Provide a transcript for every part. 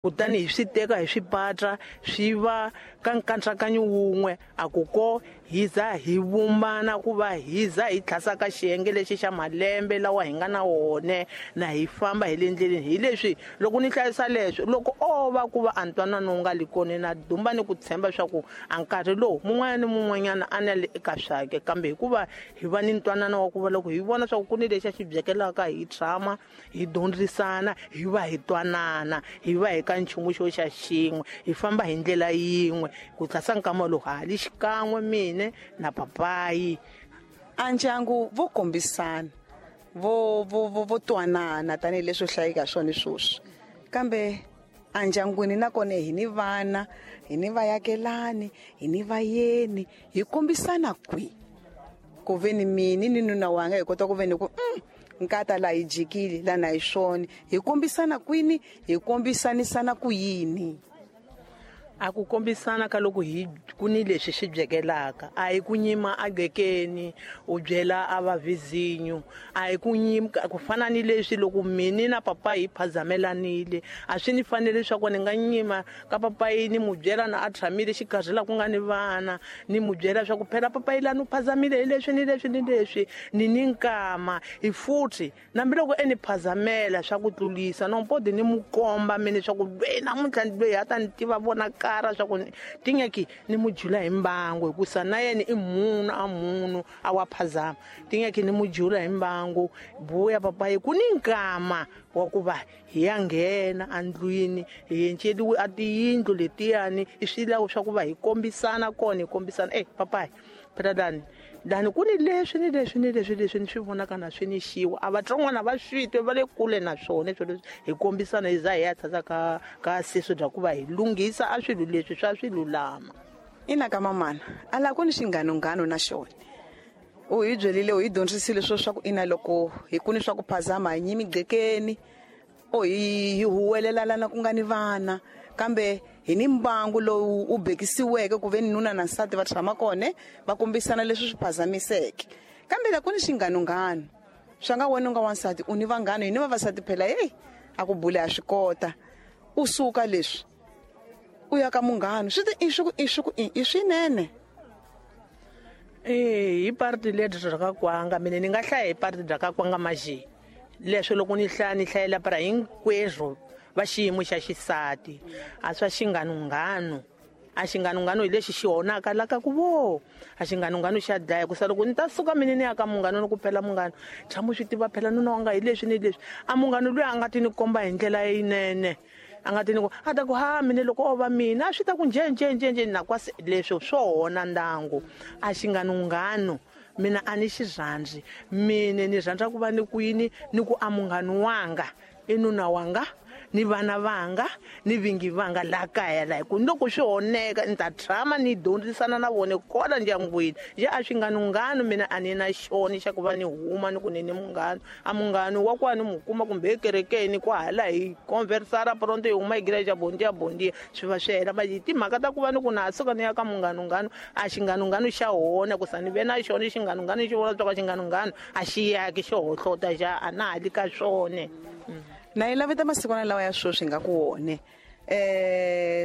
Kutani hi swi teka hi swi patra swi va ka nkatsakanyo wun'we, a ku ko hi za hi vumbana ku va hi za hi tlhasa ka xiyenge lexi xa malembe lawa hi nga na wone, na hi famba hi le ndleleni. Hi leswi loko ni hlayisa leswo, loko o va ku va a ntwanano wu nga li kona, na dumba ni ku tshemba swa ku a nkarhi lowu mun'wana ni mun'wanyana a na le eka swake, kambe hikuva hi va ni ntwanano wa ku va loko hi vona swa ku ku ni lexi a xi byekelaka, hi tshama hi dyondzisana, hi va hi twanana, hi va hi ka nchumu xo xa xin'we, hi famba hi ndlela yin'we. Ku tlhasa nkama lowu ha li xikan'we mine na papayi. A ndyangu vo kombisana, vo twanana tanihileswi hlayeka swona sweswi, kambe a ndyangwini nakona hi ni vana, hi ni vayakelani, hi ni vayeni, hi kombisana kwihi ku ve ni mini ni nuna wanga hi kota ku ve ni ku nkata la hi jikile la na hi swona, hi kombisana kwini, hi kombisanisana ku yini? A ku kombisana ka loko hi ku ni leswi swi byekelaka, a hi ku nyima a gekeni u byela a va vizinyo, a hi ku nyima ku fana ni leswi loko mini na papayi hi phazamelanile, a swi ni fanele leswaku ni nga nyima ka papayi ni mu byela na a tshamile xikarhi la ku nga ni vana, ni mu byela swa ku phela papayi la ni phazamile hi leswi ni leswi ni leswi, ni ni nkama hi futhi nambi loko e ni phazamela swa ku tlulisa no mpodi ni mu komba mina swa ku loyi namuntlha loyi a ta ni tiva vona kara swa ku tingeki ni mu jula hi mbangu, hikusa na yena i munhu a munhu a wa phazama, tingeki ni mu jula hi mbangu. Buya papayi ku ni nkama wa ku va hi ya nghena andlwini, hi enceliwe a tiyindlu letiyani, i swilawo swa ku va hi kombisana kona, hi kombisana papayi phela lani lani ku ni leswi ni leswi ni leswi leswi ni swi vonaka na swi ni xiwa, a vatsongwana va swi twe va le kule na swona leswi leswi, hi kombisana hi za hi ya tshasa ka sisu bya ku va hi lunghisa a swilo leswi swa swi lulama. Ina ka mamana a la ku ni xinghanonghano na xona, u hi byerile, u hi dyondzisile swo swa ku ina loko hi ku ni swa ku phazama hi nyimi gqekeni, o hi huwelelana ku nga ni vana, kambe hi ni mbangu lowu u bekisiweke ku ve ni nuna na nsati va tshama kona va kombisana leswi swi phazamiseke. Kambe la ku ni xinghanonghano swa nga wena u nga wansati u ni vanghana, hi ni vavasati phela, hey a ku bule a swi kota, u suka leswi u ya ka munghana swi ti i swi ku i swi ku i swinene. Hi parti leri bya ka kwanga, mina ni nga hlaya hi parti bya ka kwanga maje leswo loko ni hlaya ni hlayela para hinkwerhu va xiyimo xa xisati, a swa xinghanonghano. A xinghanonghano hi lexi xi honaka la ka ku vo, a xinghanonghano xa dlaya, ku sa loko ni ta suka mina ni ya ka munghano ni ku phela munghano tshama u swi tiva phela nuna wanga hi leswi ni leswi, a munghano loyi a nga ti ni komba hi ndlela leyinene, a nga ti ni ku a ta ku ha mina loko o va mina a swi ta ku nje nje nje nje na kwasi leswo swo hona ndangu. A xinghanonghano mina a ni xi rhandzi, mina ni rhandza ku va ni kwini ni ku a munghano wanga i nuna wanga ni vana vanga ni vingi vanga la kaya la, hi ku loko swi honeka ni ta tshama ni dyondzisana na vona kona ndyangwini. Nje a xinghanonghano mina a ni na xona xa ku va ni huma ni ku ni ni munghano, a munghano wa kwani mu kuma kumbe ekerekeni kwahala hi conversara pronto hi huma hi gira xa bondiya bondiya swi va swi hela. Manje timhaka ta ku va ni ku na ha suka ni ya ka munghanonghano, a xinghanonghano xa hona ku sa ni ve na xona xinghanonghano xi vona swa ku xinghanonghano a xi yaki xo hohlota xa a na ha li ka swona. Na yi laveta masikwana lawa ya sweswi nga ku wone,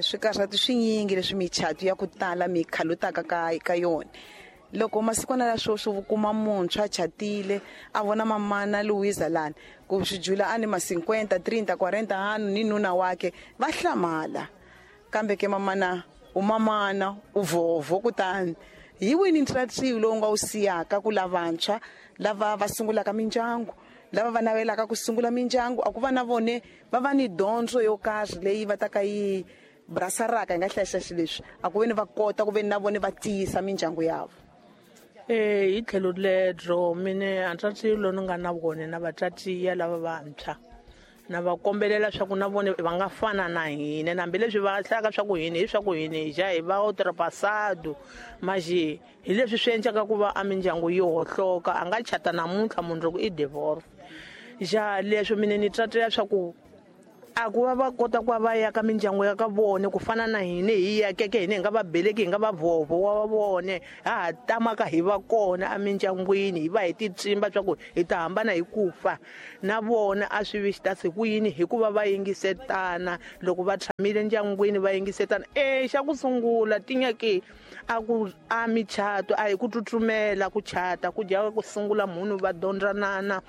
swikarhati swinyingi leswi michato ya ku tala mi khalutaka ka yona. Loko masikwana la sweswi u kuma muntshwa a chatile a vona mamana Louisa lani ku swi jula a ni ma 50, 30, 40 hanu ni nuna wake va hlamala, kambe ke mamana u mamana u vovo. Kutani hi wini ntratsiwi lowu nga wu siyaka ku lavantshwa lava va sungulaka mindyangu, lava va navelaka ku sungula mindyangu, a ku va na vone va va ni dyondzo yo karhi leyi va ta ka yi brasaraka hi nga hlayisa swilo leswi, a ku ve ni va kota ku ve ni na vone va tiyisa mindyangu yavo. Hi tlhelo ledro mine a ntratsiwi lowu ni nga na vone na vatswatiya lava vantshwa, na va kombelela swa ku na vone va nga fana na hina, hambileswi va hlayaka swa ku hina hi swa ku hina hi ja hi va ultrapassado, maje hi leswi swi endlaka ku va a mindyangu yi hohloka, a nga chata namuntlha mundzuku i divorce. Ja leswi mina ni tswatela swa ku A ku va va kota ku va va ya ka mindyangu ya ka vona ku fana na hina hi yakeke hina hi nga va beleki hi nga va vhovho wa vone ha ha tamaka hi va kona emindyangwini hi va hi titsimba swa ku hi ta hambana hi ku fa na vona a swi vi xitasi ku yini hikuva va yingisetana loko va tshamile ndyangwini va yingisetana e xa ku sungula tinyaki a ku a michato a hi ku tsutsumela ku chata ku dya ku sungula munhu va dyondzanana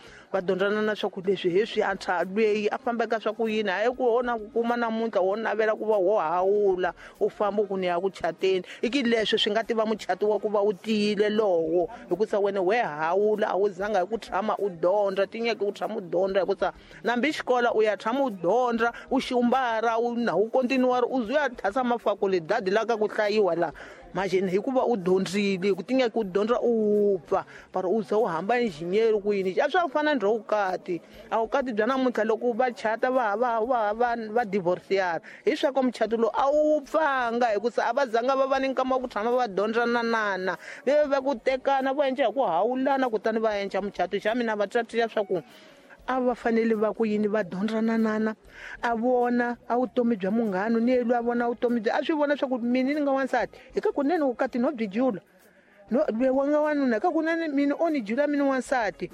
swa ku leswi hi swi antshwa lweyi a fambeka swa ku yini hayi ku wona ku kuma namuntlha wo navela ku va wo hawula u famba ku ni ya ku chateni i ki leswi swi nga tiva muchato wa ku va wu tiyile lowo hikusa wena we hawula a wu zanga hi ku tshama u dyondza tinyeke u tshama u dyondza hikusa nambi xikola u ya tshama u dyondza u xumbara u na u kontinuwari u zuya thasa mafakulidadi la ka ku hlayiwa la majeni hikuva u dyondzile ku tingeke u dyondza u wupfa para u ze u hamba engineer ku yini a swa fana ndra vukati a vukati bya namuntlha loko va chata va va va va va divorceyana hi swa ku muchato lowu a wu wupfanga hikusa a va zanga va va ni nkama wa ku tshama va dyondzananana ve va ku tekana va endla hi ku hawulana kutani va endla muchato xa mina va tswatiya swa ku a va fanele va ku yini va dyondzananana a vona a vutomi bya munghana ni yelwa a vona vutomi bya a swi vona swa ku mina ni nga wansati hi ka kunene vukati no byi jula no lwe wa nga wanuna hi ka kunene mina o ni jula mina wansati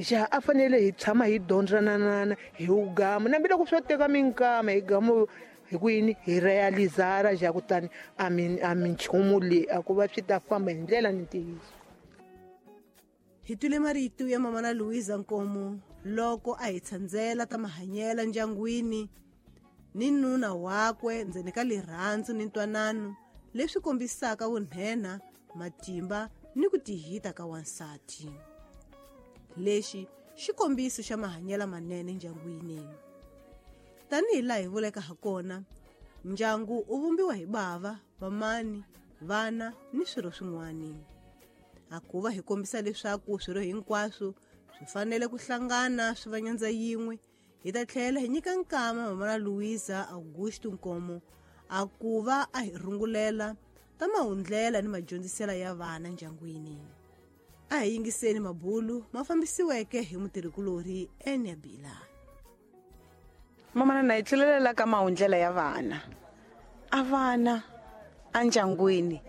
xa a fanele hi tshama hi dyondzananana hi wugama nambi loko swo teka minkama hi gama hi ku yini hi realizara xa kutani a mi a minchumu leyi a ku va swi ta famba hi ndlela ni ntiyiso. Hi twile marito ya mama na Louisa Nkomo loko a hi tshandzela ta mahanyela ndyangwini ni nuna wakwe ndzeni ka rirhandzu ni ntwanano leswi kombisaka vunhena matimba ni ku tihita ka wansati. Lexi xikombiso xa mahanyela manene ndyangwini. Tanihi laha hi vuleka ha kona, ndyangu u vumbiwa hi bava, vamani, vana ni swirho swin'wana. A ku va hi kombisa leswaku swirho hinkwaswo swi fanele ku hlangana swi va nyandza yin'we, hi ta tlhela hi nyika nkama mama na Louisa Augusto Nkomo a ku va a hi rungulela ta mahundlela ni madyondzisela ya vana ndyangwini. A hi yingiseni mabulu ma fambisiweke hi mutirhikulorhi Enya Bila. Mama na hi tlulelela ka mahundlela ya vana. A vana endyangwini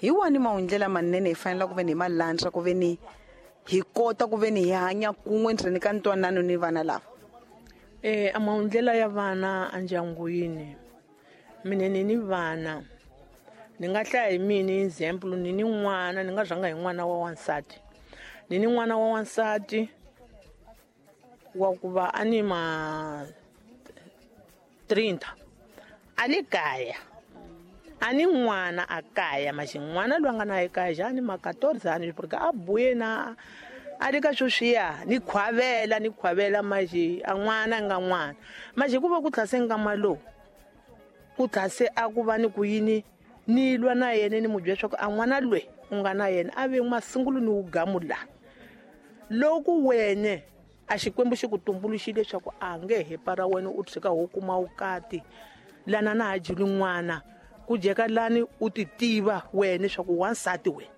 hi wani mahundlela manene hi fanele ku ve ni hi malandza ku ve ni hi kota ku ve ni hi hanya kun'we ndzeni ka ntwanano ni vana lava. A mahundlela ya vana endyangwini mina ni ni vana ni nga hlaya hi mina example ni ni n'wana ni nga rhanga hi n'wana wa wansati ni ni n'wana wa wansati wa ku va a ni ma 30 a le kaya a ni n'wana a kaya maxi n'wana loyi a nga na ekaya xa ni ma 14 ani porque a buye na a le ka sweswiya ni khwavela maxi a n'wana nga n'wana maxi ku va ku tlhase nkama lowu ku tlhase a ku va ni ku yini ni lwa na yena ni mu byela swa ku a n'wana lwe u nga na yena a ve masungulo ni wugamu la loko wene a xikwembu xi ku tumbuluxile leswaku a nge he para wena u tshika ho kuma vukati lana na ha juli n'wana ku jeka lani u ti tiva wena leswaku wansati wena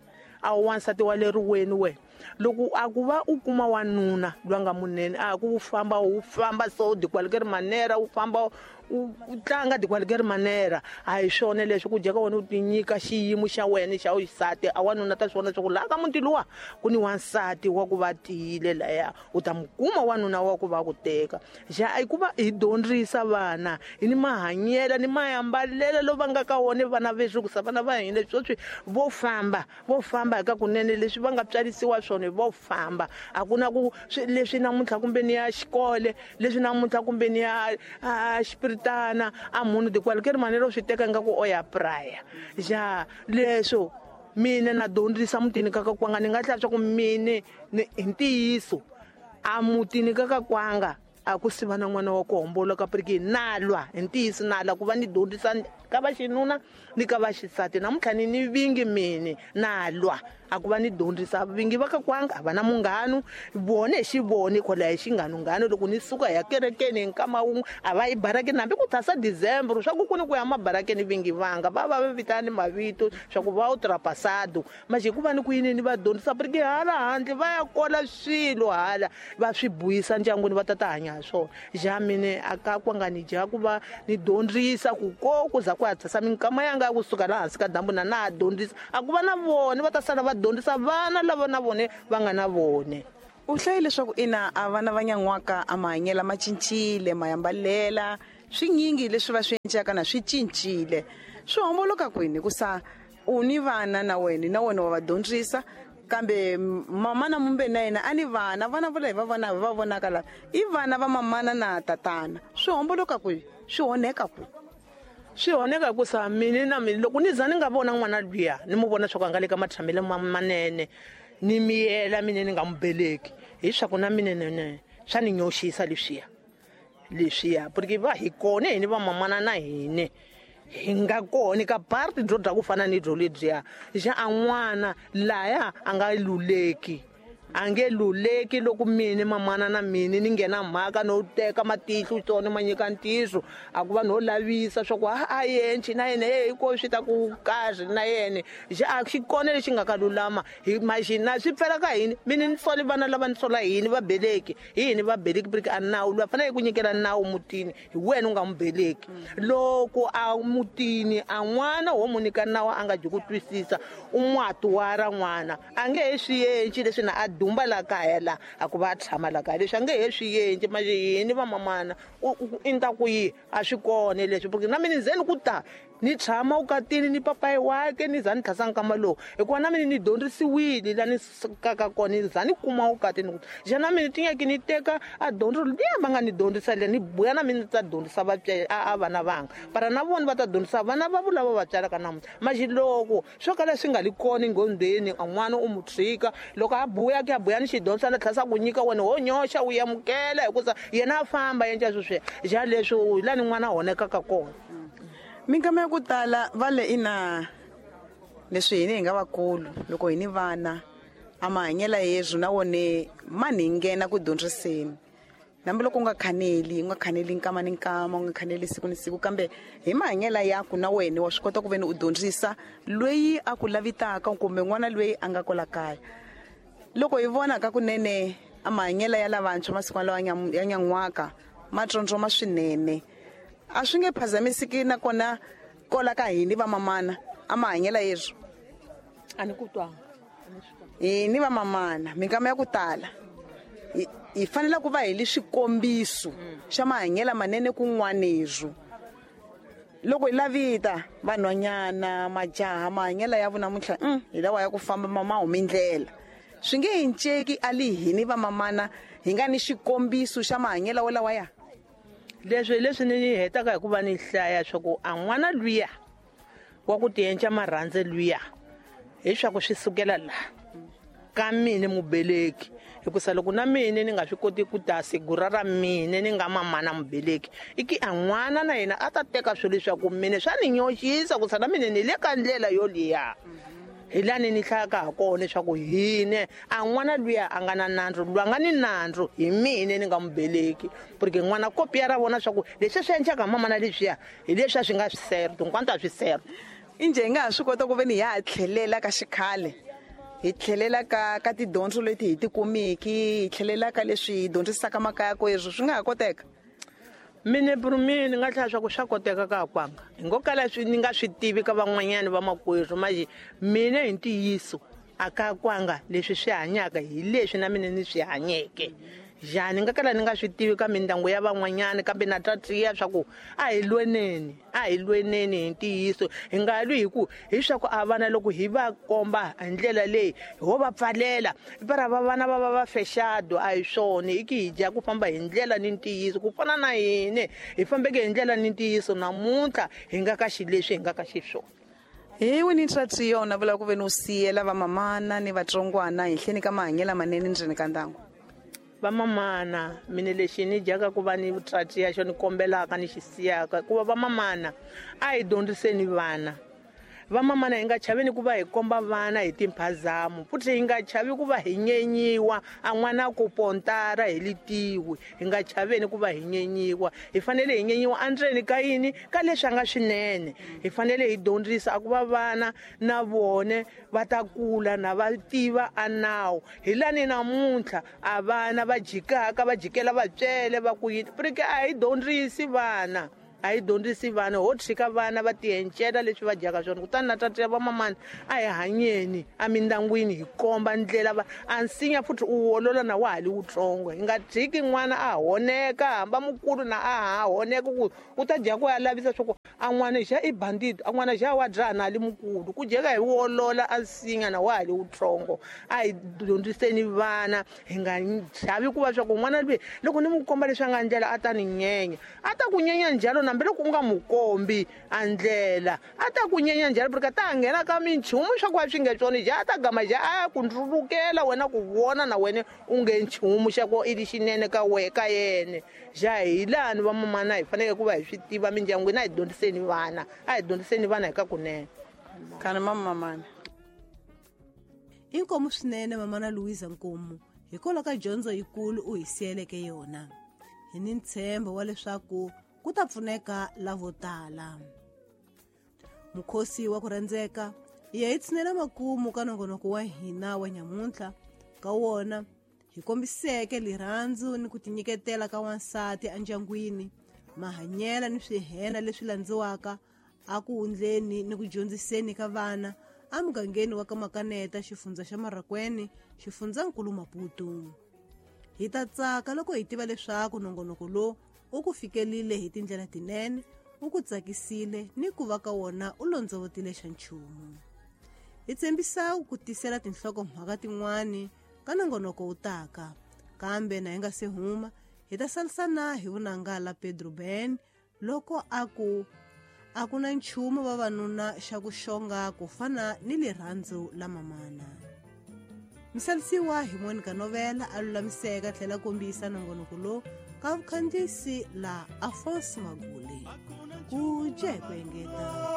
a wu wansati wa leri weni wena loko a ku va u kuma wanuna loyi nga munene a ku u famba so dikwalike ri manera u famba u tlanga dikwalike ri manera a hi swona leswi ku jeka wena u ti nyika xiyimo xa wena xa xisati a wanuna ta swona leswaku laha ka muti luwa ku ni wansati wa ku va tiyile laya u ta mu kuma wanuna wa ku va ku teka xa i ku va hi dyondzisa vana hi ni mahanyela ni mayambalelo lo va nga ka wona vana veswi ku sa vana va hina sweswi vo famba hi ka kunene leswi va nga tswarisiwa swona vo famba a ku na ku leswi namuntlha kumbe ni ya xikole leswi namuntlha kumbe ni ya xipiritana a munhu dikwalike ri manero swi teka nga ku o ya praya ja leswo mina na dyondzisa mutini ka kakwanga ni nga hlaya swa ku mine hi ntiyiso a mutini ka kakwanga a ku siva na n'wana wa ku homboloka piriki na lwa hi ntiyiso na lwa ku va ni dyondzisa ka va xinuna ni ka va xisati namuntlha ni ni vingi mine na lwa A ku va ni dyondzisa vingi va ka kwanga a va na munghano vone xi vone kwala hi xinghanunghano loko ni suka ya kerekeni hi nkama wun'we a va yi barakeni hambi ku thasa December swa ku ku ni ku ya mabarakeni vingi vanga va va va vitani mavito swa ku va u trapasado manje ku va ni ku yini ni va dyondzisa porque hala handle va ya kola swilo hala va swi buyisa ndyangwini va ta ta hanya hi swona ja mine a ka kwanga ni dya ku va ni dyondzisa ku ko ku za ku ya thasa minkama yanga ya kusuka laha hansi ka dyambu na na ha dyondzisa a ku va na vone va ta sala va dyondzisa vana lava na vone va nga na vone. U hlaye leswaku ina a vana va nyan'waka a mahanyela ma cincile mayambalela swinyingi leswi va swi encaka na swi cincile swi homboloka kwini hikusa u ni vana na wena wa va dyondzisa kambe mamana mumbe na yena a ni vana vana vo lava va vona va vonaka lava i vana va mamana na tatana swi homboloka kwihi swi onheka kwihi? Swi onheka ku sa mina na mina loko ni za ni nga vona n'wana luya ni mu vona swa ku a nga le ka matshamelo manene ni miyela mina ni nga mu beleki hi swa ku na mina nene swa ni nyoxisa leswiya porque va hi kona hini va mamana na hine hi nga kona ka party byo dya ku fana ni byo lebyiya xa a n'wana laya a nga luleki a nge luleki loko mina mamana na mina ni nghena mhaka no teka matihlo tsona ma nyika ntiyiso a ku va no lavisa swa ku a yenci na yena hey ko swi ta ku kahle na yena xa a xi kona lexi nga ka lulama hi maxina swi pfela ka hini mina ni soli vana lava ni sola hini va beleki hini va beleki porque a nawu loyi fanele ku nyikela nawu mutini hi wena u nga mu beleki loko a mutini a n'wana wo mu nyika nawu a nga dyi ku twisisa u n'watuwara n'wana a nge he swi yenci leswi na a dumba la kaya la a ku va tshama la kaya leswi a nge he swi yenci manje yini va mamana i nta ku yi a swi kona leswi porque na mina ndzeni ku ta ni tshama ukatini ni papayi wake ni za ni tlhasa nkama lowu hikuva na mina ni dyondzisiwile la ni sukaka kona ni za ni kuma ukatini ku xa na mina tinyaki ni teka a dyondzo liya va nga ni dyondzisa liya ni buya na mina ni ta dyondzisa a vana vanga para na vona va ta dyondzisa vana va vulava va tswalaka namuntlha manje loko swo kala swi nga li kona enghondweni a n'wana u mu tshika loko a buya ke a buya ni xidyondzo na tlhasa ku nyika wena ho nyoxa u amukela hikusa yena a famba yenca sweswiya xa leswi hi la ni n'wana a honekaka kona. Minkama ya ku tala va le ina leswi hina hi nga vakulu loko hi ni vana a mahanyela yezwo na wone ma ni nghena ku dyondziseni hambi loko u nga khaneli nkama ni nkama u nga khaneli siku ni siku kambe hi mahanyela yaku na wena wa swi kota ku veni u dyondzisa loyi a ku lavitaka kumbe n'wana loyi a nga kwala kaya. Loko hi vona ka kunene a mahanyela ya lavantshwa masiku lawa ya nyan'waka ma tsondzoma swinene a swi nge phazamisiki nakona kola ka hini va mamana a mahanyela yezwo a ni ku twanga hini va mamana minkama ya ku tala hi fanele ku va hi li swikombiso xa mahanyela manene kun'wanezwo loko hi lavita vanhwanyana majaha mahanyela ya vona namuntlha hi lawa ya ku famba ma humi ndlela swi nge hinceki a li hini va mamana hi nga ni xikombiso xa mahanyela wolawa ya leswi leswi ni hetaka hi ku va ni hlaya swa ku a n'wana luya wa ku tienca marhandze luya hi swa ku swi sukela laha ka mina mubeleki hikusa loko na mina ni nga swi koti ku ta sigura ra mina ni nga mamana mubeleki i ki a n'wana na yena a ta teka swilo leswaku mina swa ni nyoxisa ku sa na mina ni le ka ndlela yoliya hi lani ni hlayaka ha kona leswaku hine a n'wana luya a nga na nandzu lwa nga ni nandzu hi mina ni nga mubeleki porque n'wana kopiya ra vona swa ku leswi swi endlaka mamana leswiya hi leswi a swi nga swi serto hinkwanto a swi serto. Injhe hi nga ha swi kota ku ve ni hi ha tlhelela ka xikhale hi tlhelela ka tidyondzo leti hi ti kumiki hi tlhelela ka leswi hi dyondzisaka makaya ko ezwo swi nga ha koteka? Mina ni nga tlhela swa ku swa koteka ka kwanga hi ngo kala swi ni nga swi tivi ka van'wanyana va makwerhu manje mina hi ntiyiso a ka kwanga leswi swi hanyaka hi leswi na mina ni swi hanyeke njhani nga kala ni nga swi tivi ka mindyangu ya van'wanyana kambe na tatiya swa ku a hi lweneni hi ntiyiso hi nga lwi hi ku hi swa ku a vana loko hi va komba hi ndlela leyi ho va pfalela para va vana va va va fexado a hi swona i ki hi dya ku famba hi ndlela ni ntiyiso ku fana na hine hi fambeke hi ndlela ni ntiyiso namuntlha hi nga ka xileswi hi nga ka xiswona. Hi wini ntswatsiyo na vula ku ve ni u siyela vamamana ni vatsongwana henhleni ka mahanyelo manene ndzeni ka ndyangu? Vamamana mina lexi ni dyaka ku va ni tsatsiya xo ni kombelaka ni xi siyaka ku va vamamana a hi dyondziseni vana Vamamana hi nga chaveni ku va hi komba vana hi timphazamo, futhi hi nga chavi ku va hi nyenyiwa, a n'wana ku pontara hi litiwi. Hi nga chaveni ku va hi nyenyiwa, hi fanele hi nyenyiwa endzeni ka yini, ka leswi a nga swinene. Hi fanele hi dyondzisa a ku va vana na vone va ta kula na va tiva a nawu. Hi lani namuntlha a vana va jikaka va jikela vatswele va ku yini, porque a hi dyondzisi vana, a hi dyondzisi vana, ho tshika vana va tiencela leswi va dyaka swona. Kutani na tata ya vamamani, a hi hanyeni emindyangwini hi komba ndlela va a nsinya, futhi u wolola na wa ha li wutsongo. Hi nga tshiki n'wana a honeka, hamba mukulu na a ha honeka ku u ta dya ku ya lavisa swa ku a n'wana xa i bandit, a n'wana xa wa dzaha na li mukulu, ku dyeka hi wolola a nsinya na wa ha li wutsongo. A hi dyondziseni vana, hi nga chavi ku va swa ku n'wana loyi loko ni n'wi komba leswi a nga ndlela a ta ni nyenya, a ta ku nyenya njhalo na hambi loko u nga n'wi kombi a ndlela, a ta ku nyenya njhalo, porque ta nghena ka minchumu swa ku a swi nge swona, ja a ta gama ja a ya ku ndzulukela wena ku vona na wena u nge nchumu xa ku i lexinene ka we ka yena. Ja hi lani vamamana hi fanele ku va hi swi tiva mindyangwini, a hi dyondziseni vana, a hi dyondziseni vana hi ka kunene. Kana mamamana Inkomu swinene mamana Louisa Nkomu, hikwalaho ka dyondzo yikulu u hi siyeleke yona. Hi ni ntshembo wa leswaku ku ta pfuneka lavo tala. Mukhosi wa ku rhandzeka hi ya hi tshinela makumu ka nongonoko wa hina wa nyamuntlha. Ka wona hi kombiseke rirhandzu ni ku tinyiketela ka wansati endyangwini, mahanyela ni swihena leswi landziwaka a ku wundleni ni ku dyondziseni ka vana emugangeni wa ka Makaneta, xifundza xa Marracuene, xifundzankulu Maputo. Hi ta tsaka loko hi tiva leswaku nongonoko lowu u ku fikelile hi tindlela tinene, u ku tsakisile ni ku va ka wona u londzovotile xa nchumu. Hi tshembisa ku tisela tinhlokomhaka tin'wani ka nongonoko wu taka, kambe na hi nga se huma hi ta salisana hi vunanga la Pedro Ben loko a ku a ku na nchumu vavanuna xa ku xonga ku fana ni rirhandzu la mamana. Misalisiwa hi Monica Novela a lulamiseka tlhela kombisa nongonoko lowu ka vukhandziyisi la Afonso Magule. Ku dya hi ku engeta.